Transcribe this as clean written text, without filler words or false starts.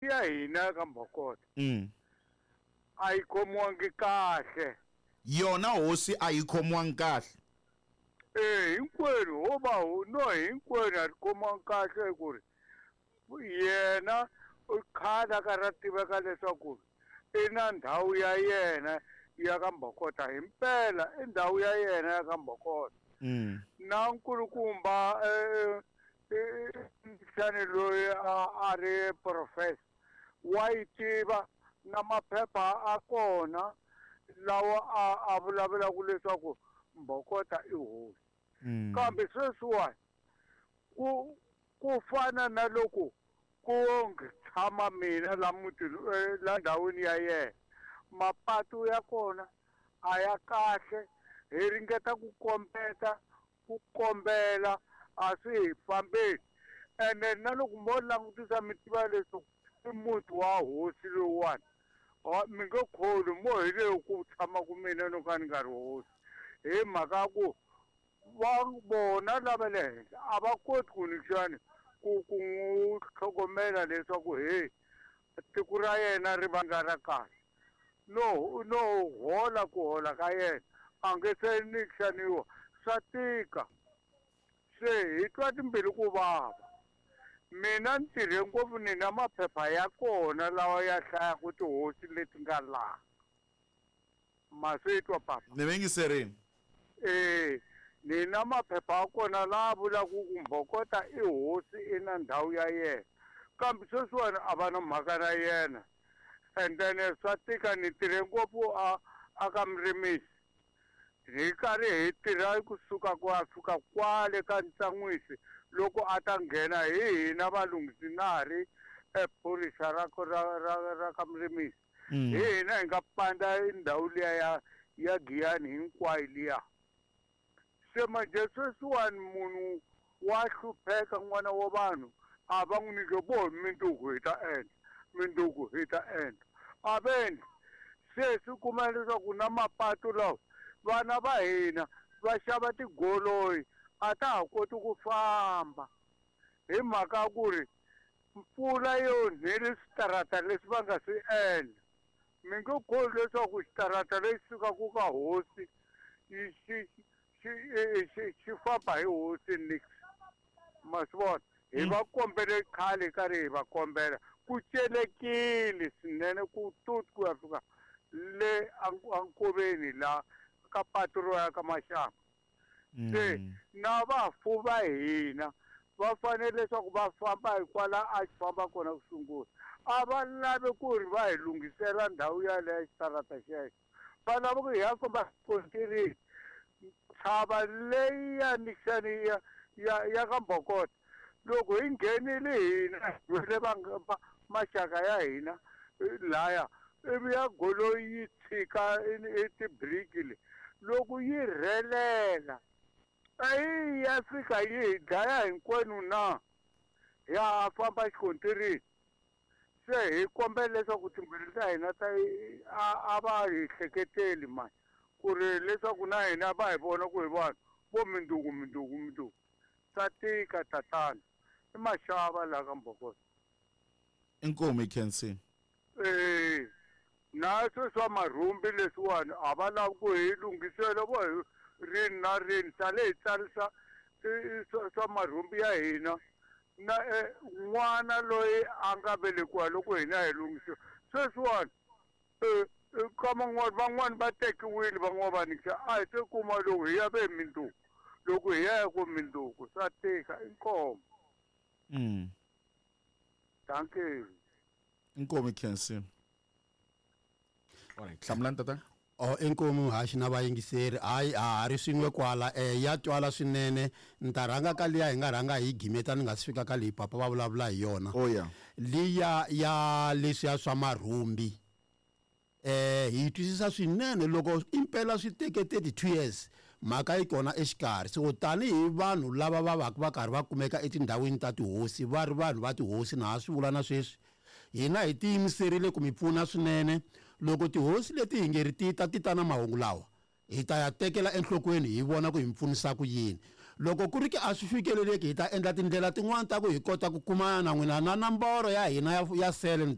Ya hina ka Mbhokota a yi khomiwangi kahle. Yona hosi a yi khomiwangi kahle. E hinkwenu ho va no hinkwenu a ri khomiwangi kahle ku ri yena khale a ka ra tiveka leswaku i na ndhawu ya yena ya ka Mbhokota himpela i ndhawu ya yena ya ka Mbhokota. Na nkulukumba xani loyi a ri professor wa yi tiva na maphepha a kona lawa a vulavulaka leswaku Mbhokota i hosi. Kambe sweswiwani ku fana na loko ku tshama mina la mutini la ndhawini ya yena, mapatu ya kona a ya kahle, hi ringeta ku kombeta ku kombela a swi hi fambeli. Ene na loko mo langutisa mi tiva leswaku i muti wa hosi lowuwani, mi nge kholwi mo hi leyi ku tshamaka mina no ka ni nga ri hosi, hi mhaka ya ku va vona lava le henhla a va koti ku nixani ku n'wi tlhogomela leswaku he tiko ra yena ri vanga ra kahle. No no hola ku hola ka yena a nge se nixaniwa, swa tika. Se hi twa timbilu ku vava. Mina ni tirhe ngopfu ni na maphepha ya kona lawa ya hlayaka tihosi leti nga laha. Ma swi twa papa? Ni yingiserini. E ni na maphepha ya kona laha vulaka ku Mbhokota i hosi i na ndhawu ya yena, kambe sweswiwani a va na mhaka na yena. And then swa tika, ni tirhe ngopfu a ka murimisi, hi karhi hi tirha kusuka ku ya fika kwale ka Ntsan'wisi loko a ta nghena hi hina valunghisi na ha ri phorisa ra ra ra ka murimisi. Hi hina hi nga panda ndhawu liya ya Giyani hinkwayo liya. Se manje sweswiwani munhu wa hlupheka, n'wana wa vanhu a va n'wi nyike vo minduku hi ta endla, minduku hi ta endla, a va endli. Se swi kuma leswaku na mapatu lawa vana va hina va xava tigoloi a ta ha koti ku famba hi mhaka ku ri mpfula yo nheli switarata leswi va nga swi endla. Mi nge kholwi leswaku xitarata lexi sukaka ka hosi xi famba hi hosi nix. Ma swi vona? Hi va kombele khale karhi hi va kombela, ku celekile swinene ku tut ku ya fika le ankoveni la ka patu ro ya ka Maxanga. Se na vafu va hina va fanele leswaku va famba hi kwala a xi famba kona ku sungula. A va lavi ku ri va hi lunghisela ndhawu yaleyo xitarata xexo, va lava ku hi ya famba xikontiri. Ntshava leyi ya nixani ya ka Mbhokota, loko hi nghenile hina hi le va maxaka ya hina laya, ivi ya goloi yi tshika i tibiriki le, loko yi rhelela a yi ya fika yi hi dlaya hinkwenu na ya famba xikontirini. Se hi kombela leswaku timbilu ta hina ta a va hi hleketeli mani, ku ri leswaku na hina va hi vona ku hi vanhu vo minduku minduku minduku. Swa tika tatana, i maxava laha ka Mbhokota. Inkomu hi khensile. E na sweswi swa marhumbi leswiwani a va lavi ku hi lunghisela vo hi rini na rini, sale hi tsarisa swa marhumbi ya hina. Na n'wana loyi a nga velekiwa loko hina hi lunghisiwa sweswiwani, ka van'wani van'wani va tekiwile, van'wani va nikisa a hi se kuma loko hi ya ve minduku, loko hi ya ku minduku swa tika. Inkomu. Dankie. Inkomu hi khensile. Alright, hlamulani tata. Oh, inkomu haxi na vayingiseri. Hayi, a ha ri swin'we kwala. Ya twala swinene. Ni ta rhanga ka liya hi nga rhanga hi gimeta ni nga si fika ka leyi papa va vulavula hi yona. Oh, yeah. Liya ya leswiya swa marhumbi. Hi twisisa swinene loko impela swi teke 32 years mhaka yi kona exikarhi. So tanihi vanhu lava va va va karhi va kumeka etindhawini ta tihosi, va ri vanhu va tihosi, na ha swi vula na sweswi, hina hi tiyimiserile ku mi pfuna swinene. Loko tihosi leti hi nge ri ti ta ti ta na mahungu lawa, hi ta ya tekela enhlokweni hi vona ku hi mi pfunisa ku yini. Loko ku ri ki a swi fikeleleki, hi ta endla tindlela tin'wani ta ku hi kota ku kumana na n'wina na nomboro ya hina ya sele ni.